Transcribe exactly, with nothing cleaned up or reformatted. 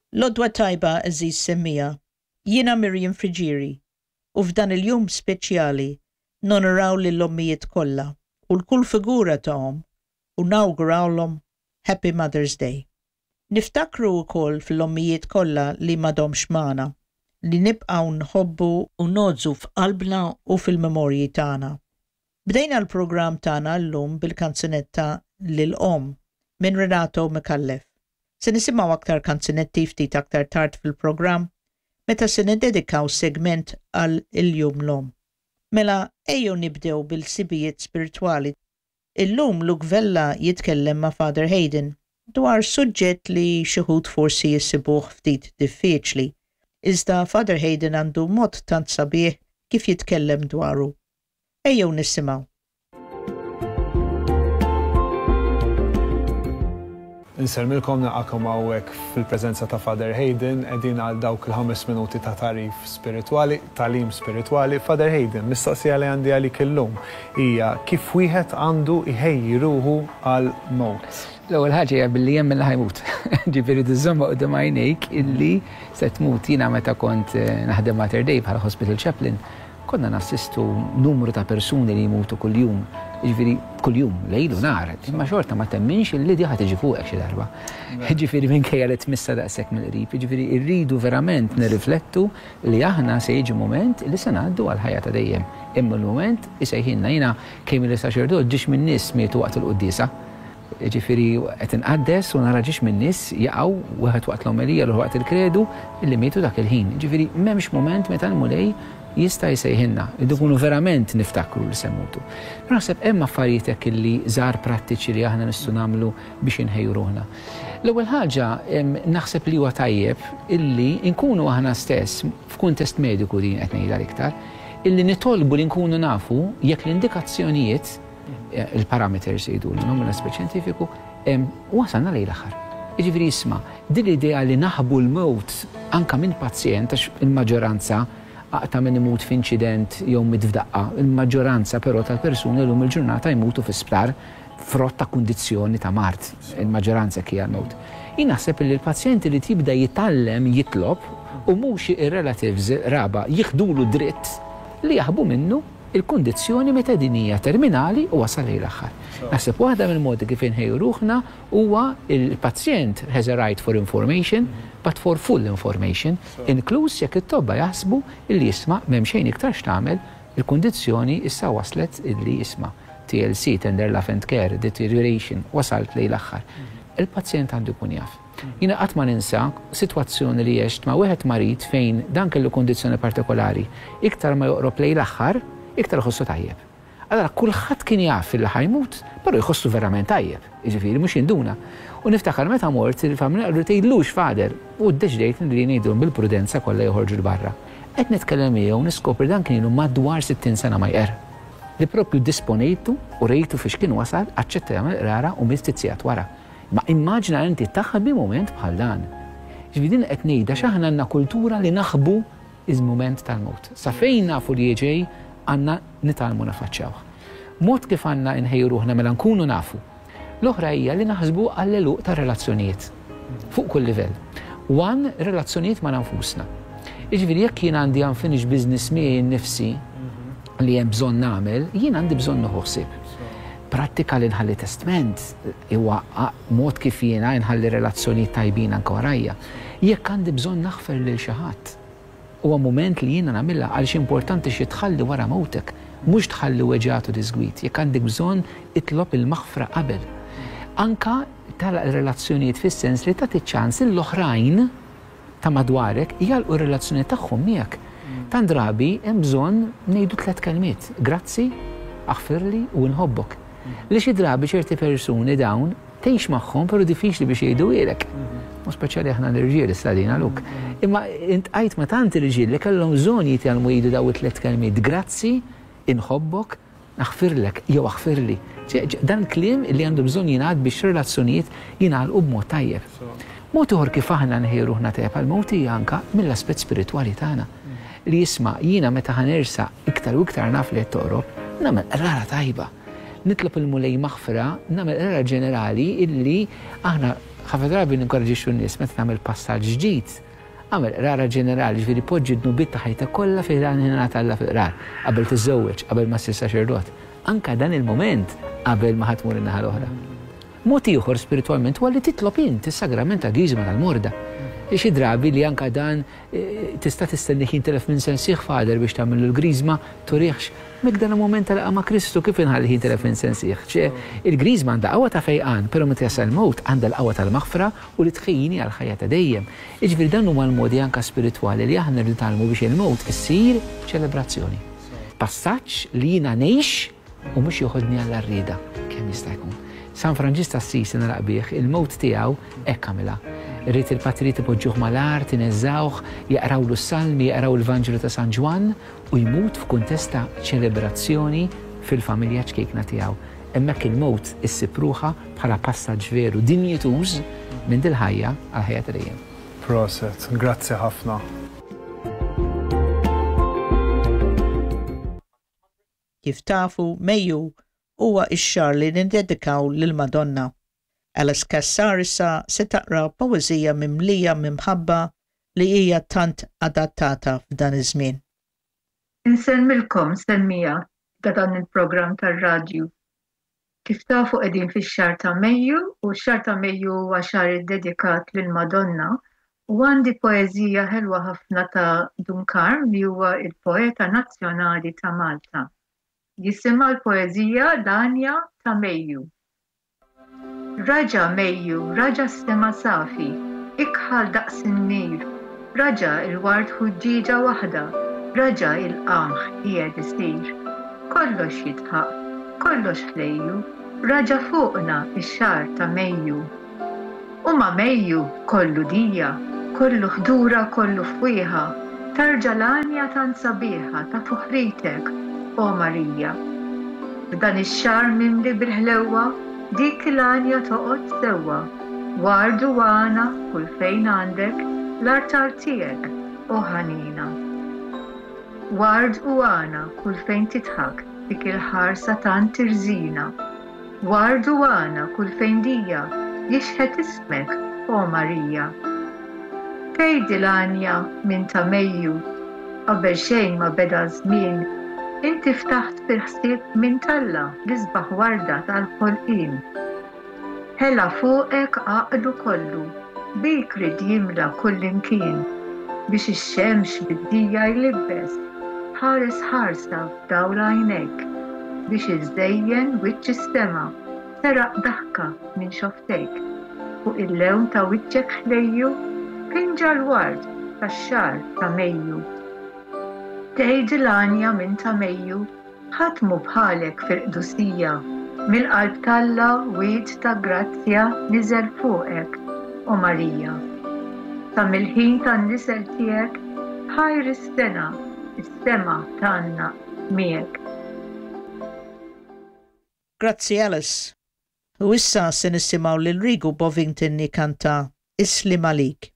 L-għodwa t-tajba, għeżież semmiegħa, jiena Miriam Friggieri u f'dan il-jum speċjali nonoraw lill-ommijiet kollha u 'l kull figura ta' omm u nawgurawlhom Happy Mother's Day. Niftakru wkoll fil-ommijiet kollha li m'għadhomx magħna, li nibqgħu nħobbu u ngħożżu f'qalbna u fil-memorji tagħna. Bdejna l-programm tagħna llum bil-kanzunetta Lil Omm minn Renato Micallef. Se nisimgħu aktar kanzunetti ftit aktar tard fil-programm meta se niddedikaw segment għal il-Jum l-Omm. Mela ejjew nibdew bil-ħsibijiet spiritwali. Illum Luke Vella jitkellem ma' Father Hayden dwar suġġett li xi wħud forsi jisibuh ftit diffiċli. Iżda Father Hayden għandu mod tant sabiħ kif jitkellem dwaru. Ejjew nisimgħu. Insellmilkom, nilqagħkom hawnhekk fil-preżenza ta' Father Hayden, qegħdin għal dawk il-ħames minuti ta' tagħrif spiritwali, tagħlim spiritwali. Father Hayden, mistoqsija li għandi għalik illum hija kif wieħed għandu jħejji ruħu għal mewt. L-ewwel ħaġa hija billi jemmen li ħa jmut. Ġifieri tiżżomm quddiem għajnejk illi se tmut. Jiena meta kont eh, naħdem Mater Dei bħala hospital chaplain, konna nassistu numru ta' persuni li jmutu kuljum, ġifieri kuljum, lejl u nhar, imma xorta ma temminx illi di ħa tiġi fuqek xi darba. Ġifieri minkejja li tmissa daqshekk mill-qrib, ġifieri rridu verament nirriflettu li aħna se jiġi moment li se ngħaddu għal ħajja ta' dejjem. Imma l-moment isejħilna. Jiena kemm ili saċerdot, ġiex minn nies mietu waqt il-quddiesa. Ġifieri qed inqaddes u nara ġiex minn nies jaqgħu, wieħed waqt l-omelija, l waqt il-kredu, illi mietu dak il-ħin. Ġifieri m'hemmx moment meta l-Mulej jista' jsejħilna, irridu nkunu verament niftakru li se mmutu. Naħseb hemm affarijiet hekk illi żgħar prattiċi li aħna nistgħu nagħmlu biex inħejju ruħna. L-ewwel ħaġa, naħseb li huwa tajjeb illi nkunu aħna stess f'kuntest mediku, din qed ngħidha l-iktar, illi nitolbu li nkunu nafu jekk l-indikazzjonijiet, eh, il-parameters jgħidu l mill-aspett xjentifiku, wasalna lejn l-aħħar. Jiġifieri isma', din l-idea li naħbu l-mewt anka minn pazjent, għax il-maġġoranza aqta' minn imut f'inċident jew miet f'daqqa, il-maġġoranza però tal-persuni llum il-ġurnata jmutu fi sptar frott ta' kundizzjoni ta' mard, il-maġġoranza hija l-mewt. Jien naħseb li l-pazjenti li tibda jitgħallem jitlob u mhux ir-relatives raba jieħdulu dritt li jaħbu minnu il-kundizzjoni meta din hija terminali u wasal lejn l-aħħar. Naħseb waħda mill-modi kif inħejju ruħna huwa il-pazjent has a right for information, but for full information, inkluż jekk it-tobba jaħsbu illi jisma' m'hemm xejn iktar x'tagħmel, il-kundizzjoni issa waslet illi jisma' T L C, tender love and care, deterioration, wasalt lejn l-aħħar. Il-pazjent għandu jkun jaf. Jiena qatt ma ninsa sitwazzjoni li għext ma' wieħed marid fejn dan kellu kundizzjoni partikolari. Iktar ma joqrob lejn l-aħħar, iktar iħossu tajjeb. Allora kulħadd kien jaf li ħa jmut, però jħossu verament tajjeb, jiġifieri mhux jinduna. U niftakar meta mort, il-familja qalu tgħidlux, Father, u ddeċidejt li ngħidulhom bil-prudenza kollha joħorġu 'l barra. Qed nitkellem miegħu niskopri dan kien ilu madwar sittin sena ma jqer. Li propju disponejtu u rejtu fiex kien wasal, aċċetta jagħmel qrara u miet ftit sigħat wara. Ma immaġina inti taħbi moment bħal dan. Ġifieri din qed ngħidha x'aħna għandna kultura li naħbu iż-moment tal-mewt. Sa fejn nafu li ġej, għandna nitgħallmu nafaċċawh. Mod kif għandna nħejju ruħna mela nkunu nafu. L-oħra hija li naħsbu għall-għeluq ta' relazzjonijiet fuq kull livell. One, relazzjonijiet ma' nfusna. Jiġifieri jekk jien għandi unfinished business miegħi nnifsi li hemm bżonn nagħmel, jien għandi bżonn nieħu ħsieb. Prattika li nħalli testament huwa mod kif jiena nħalli relazzjonijiet tajbin anke warajja. Jekk għandi bżonn naħfer lil xi ħadd, huwa moment li jiena nagħmilha, għaliex importanti xi tħalli wara mewtek, mhux tħalli weġgħat u diżgwid. Jekk għandek bżonn, itlob il-maħfra qabel. Anka tagħlaq relazzjonijiet fis-sens li tagħti ċans l-oħrajn ta' madwarek jagħlqu relazzjoni tagħhom miegħek. Tant drabi hemm bżonn ngħidu tliet kelmiet: grazzi, aħfirli u nħobbok. Li xi drabi ċerti persuni dawn tgħix magħhom, però diffiċli biex jgħiduhielek. U speċjali aħna l-irġiel issa Luk. Imma iltqajt ma' tant irġiel li kellhom bżonn jitgħallmu jgħidu daw it-tliet kelmiet: grazzi, inħobbok, naħfirlek jew aħfirli. Dan kliem li għandu bżonn jingħad biex relazzjonijiet jingħalqu b'mod tajjeb. Mod ieħor kif aħna nħejju ruħna tajjeb għal-mewt hija anka mill-aspett spiritwali tagħna. Li jisma' jiena meta ħa nersaq iktar u iktar naf li qed toqrob, nagħmel qrara tajba. Nitlob il-Mulej maħfra, nagħmel qrara ġenerali illi aħna Ħafna drabi ninkoraġixxu n-nies meta tagħmel passaġġ ġdid, agħmel qrara ġenerali, ġifieri poġġi d-dnubiet ta' ħajtek kollha fi ħdan t'Alla fil-qrar, qabel tiżżewweġ, qabel ma ssir saċerdot. Anka dan il-moment qabel ma ħa tmur in-naħa l-oħra. Mod ieħor spiritwalment huwa li titlob int is-sagrament ta' Griżma tal-Morda. Xi drabi li anka dan tista' tistenni jintelef minn sensih Father biex tagħmel l-griżma turihx. Mek dan il-moment tal ma' Kristu kif inħalli jintelef minn sensih. Ċe il-griżma għandha qawwa ta' fejqan, però meta jasal mewt għandha l-qawwa tal-maħfra u li tħejjini għal ħajja ta' dejjem. Jiġifieri dan huma l-modi anka spiritwali li aħna rridu nitgħallmu biex il-mewt issir ċelebrazzjoni. Passaġġ li jiena ngħix u mhux joħodni għall-għarrieda kemm jista' jkun. San Franġisk ta' Assisi nagħlaq bih, il-mewt tiegħu hekk għamilha. Ried il-patrijiet ipoġġuh mal-art, ineżżawh, jaqrawlu s-salmi, jaqraw il-Vanġelu ta' San Ġwann u jmut f'kuntest ta' ċelebrazzjoni fil-familja ċkejkna tiegħu. Hemmhekk il-mewt issib ruħha bħala passaġġ veru dinjituż minn dil-ħajja għal ħajja ta' dejjem. Proset, grazzi ħafna. Kif tafu, Mejju huwa x-xahar li nindedikaw lill-Madonna. Alice Cassar issa se taqra poeżija mimlija mimħabba li hija tant adattata f'dan iż-żmien. Insellmilkom semmija ta' dan il-programm tar-radju. Kif tafu qegħdin fix-xahar ta' Mejju u x-xahar ta' Mejju huwa xahar iddedikat lill-Madonna u għandi poeżija ħelwa ħafna ta' Dun Karm li huwa il-poeta nazzjonali ta' Malta. Jisimha l-poeżija L-Għanja ta' Mejju. Raġa Mejju, raġa s-sema safi, ikħal daqs in-nir, raġa il-ward ħuġġieġa waħda, raġa il-qamħ qiegħed isir. Kollox jitħaq, kollox ħlejju, raġa fuqna ix-xahar ta' Mejju. U ma' Mejju kollu dija, kollu ħdura, kollu fwieħa, tarġa l-għanja tant sabiħa ta' fuħritek, o Marija. F'dan ix-xahar mimli bil-ħlewwa, dik l-għanja toqgħod sewwa, ward u għana kull fejn għandek l-artal tiegħek, o ħanina. Ward u għana kull fejn titħak dik il-ħarsa tant tirżina. Ward u għana kull fejn dija jixħet ismek, o Marija. Tgħid l-għanja minn ta' Mejju, qabel xejn ma beda żmien, inti ftaħt fil-ħsieb minn t'Alla l-isbaħ warda tal-ħolqien. Ħela fuqek għaqlu kollu, bik rid jimla kullimkien, biex ix-xemx bid-dija jlibbes, ħares ħarsa f'dawl għajnejk, biex iżejjen wiċċ is-sema, seraq daħka minn xoftejk, fuq il-lewn ta' wiċċek ħlejju, pinġa l-ward tax-xahar ta' Mejju. Tgħid l-għanja minn ta' Mejju, ħadd mhu bħalek fil-qdusija, mill-qalb t'Alla wied ta' grazzja niżel fuqek, o Marija. Sa mill-ħin tan-nisel tiegħek ħajr is-sena, is-sema tgħannaq miegħek. Grazzi Alice. U issa se nisimgħu lil Rigu Bovington jikanta Islim Għalik.